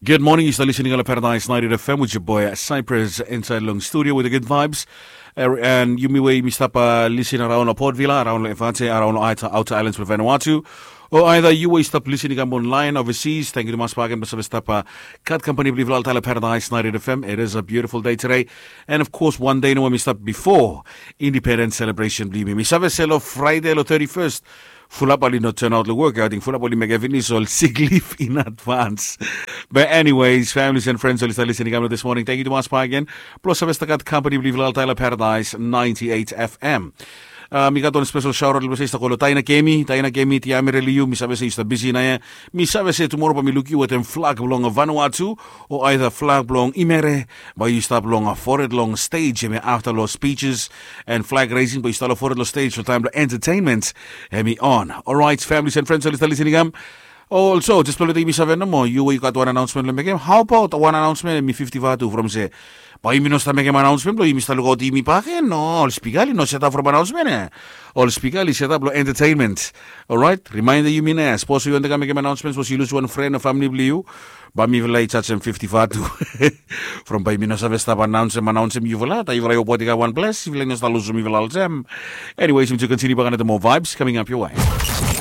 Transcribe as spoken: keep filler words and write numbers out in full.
Good morning, yu stap listening long Paradise ninety F M with your boy Cyprus inside long studio with the good vibes. And yumi we yumi stap listening around long Port Vila, around long Evate, around long Outer Islands of Vanuatu. O either yu we stap listening kam online overseas, thank you tumas bak again, basa we stap kat company believe long Paradise ninety F M. It is a beautiful day today. And of course, one day no we stap before Independence celebration believe me. Mi save se lo Friday lo thirty-first. Fulap oli no turn out lo work, I think fulap oli mekem finis ol sick leave in advance. But anyways, families and friends oli stap listening kam this morning. Thank you tumas bak again. Plus save stap kat company believe long Paradise ninety-eight F M. Uh, mi gat wan special shout out lo se i stap go lo Taina Kemi, Taina Kemi, Tiamere Liu, mi save se i stap busy na ia. Mi save se tomorrow ba mi luk yu wetem flag blong Vanuatu, o either flag blong Imere, ba yu stap long fored long stage, hemi after lo speeches and flag raising, ba yu stap long fored lo stage lo taim lo entertainment, hemi on. Alright, families and friends, oli stap listening am. Also, just blo leta yumi save nomo, yu we yu gat wan announcement lo mekem. How about wan announcement, hemi fifty vatu from se. Ba yumi no stap mekem announcement blo yumi stap lukaot yumi bak, e no, ol spika oli no set up from announcement, e. Ol spika oli set up lo entertainment. Alright, reminder yumi na, sapos yu wantem kam mekem announcement, sapos yu lus wan friend o family blo yu, ba mifala i charge em fifty vatu. From ba yumi no save stap announce em, announce em yufala, taim yufala i opoti kam wan ples, yufala i no stap lusum yufala olsem. Anyways, yumi tu continue bak another more vibes coming up your way.